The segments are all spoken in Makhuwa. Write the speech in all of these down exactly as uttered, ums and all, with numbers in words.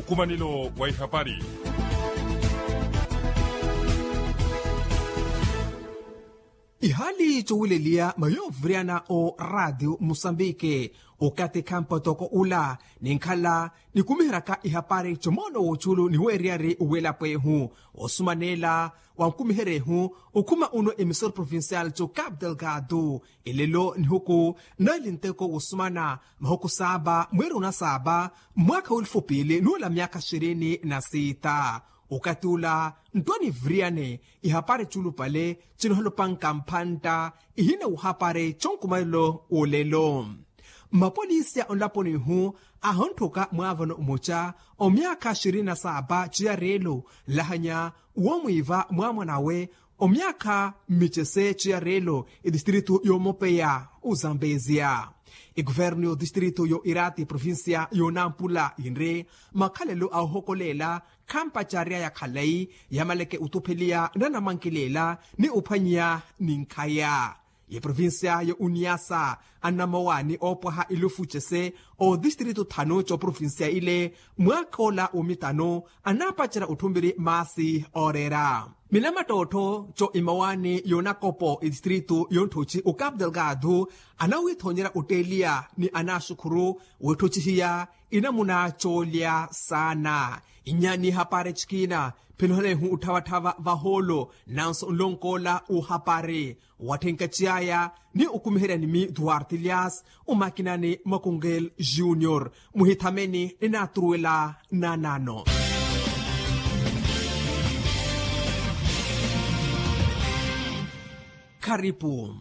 Nkumanelo wa ihapari. Ihaali cowileliya mayoovuriyana o raatiyo musambike, okathi khampotoko ula ninkhala nikumiheryaka ihapari comoono w'ocuulu ni weeriyari w'elapo ehu. Osumanela wankumiherya ehu okhuma uno emisoro provincial co capital gado. Elelo nihuku nali nteko wosumana mahuku saaba mweeri onasaaba mwaakha w'elufu piili nuula myaakha xirini na siita. Okathi ula ntwani viriyane ihapari culupale cinohalopanka mphantta ihina wuhapari conkumanelo w'olelo. Mapolisi a onlaponi ihu ahontthaka mwaavano mmoca omyaakha xirini na saapa ciyareelo nlahanya womwiiva mwaamwanawe omyaakha mmicese ciyareelo etistritu yoomopeya ozambeziya. Ekuvernu y'otistritu yo irati provincia y'onampula yinri makhalelo a ohokoleela khampacaryaya khalayi yamaleke otupheliya nanamwankileela ni ophwanyiya ninkhaya. Ye provincia yo uniasa anamowani oopwaha ilufu cese otistritu thanu co provincia ile mwaakha ola womitano anaapacerya otthumiri maasi ooreera minamattottho co imowani yonakopo etistritu yontthotci ocapital gado anawithoonyerya otteeliya ni anaaxukhuru wetthotcihiya inamuna coolya saana. Inyaani hapari cikiina phinohana ihu otthavatthava vahoolo nanso nlonkoola uhapari watthenkaci aya ni okumiheryani mi duarte elias omakinani makungel junior muhithameni ninaaturuwela nanano. Kharipu.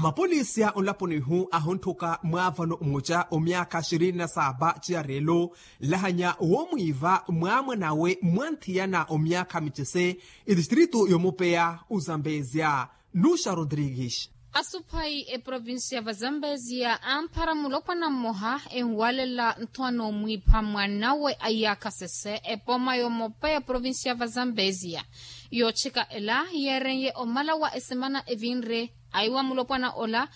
Mapolisi a onlaponi ihu ahontthaka mwaavano mmoca omyaakha xirini na saapa ciyareelo nlahanya woomwiiva mwaamwanawe mwanthiyana omyaakha micese etistritu yoomupeya ozambeziya. Nuxa rodrigues. Asuphayi eprovincia vazambeziya amphara mulopwana mmoha enwalela ntho anoomwiipha mwanawe a iyaakha sese epoma yoomopeya eprovincia vazambeziya. Yootthika ela yeeren'ye omala wa esemana evinre aiwa mulopwana ola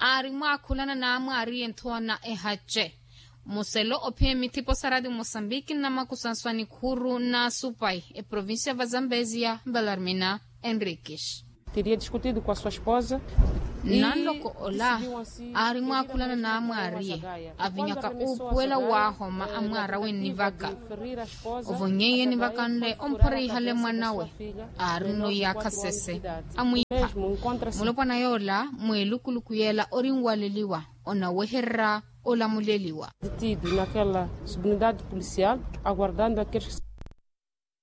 aari mwaakhulana n'amwaariye nthoona ehace muselo ophiya emithipo sa radio mosambiki nnamakusanswa nikhuru n'asupayi eprovincia vazambeziya belarmina enriquis. Teria discutido com a sua esposa. Nanloko ola aari mwaakhulana n'amwaariye avinyaka uupuwela waahoma amwaarawe nnivaka. Ovonyeiyeni vakanle omphorihale mwanawe aari nno iyaakha sese amwiipha. Mulopwana yoola mweelukuluku yeela ori nwaleliwa onawehererya olamuleliwa. Detido naquela subunidade policial aguardando aqueles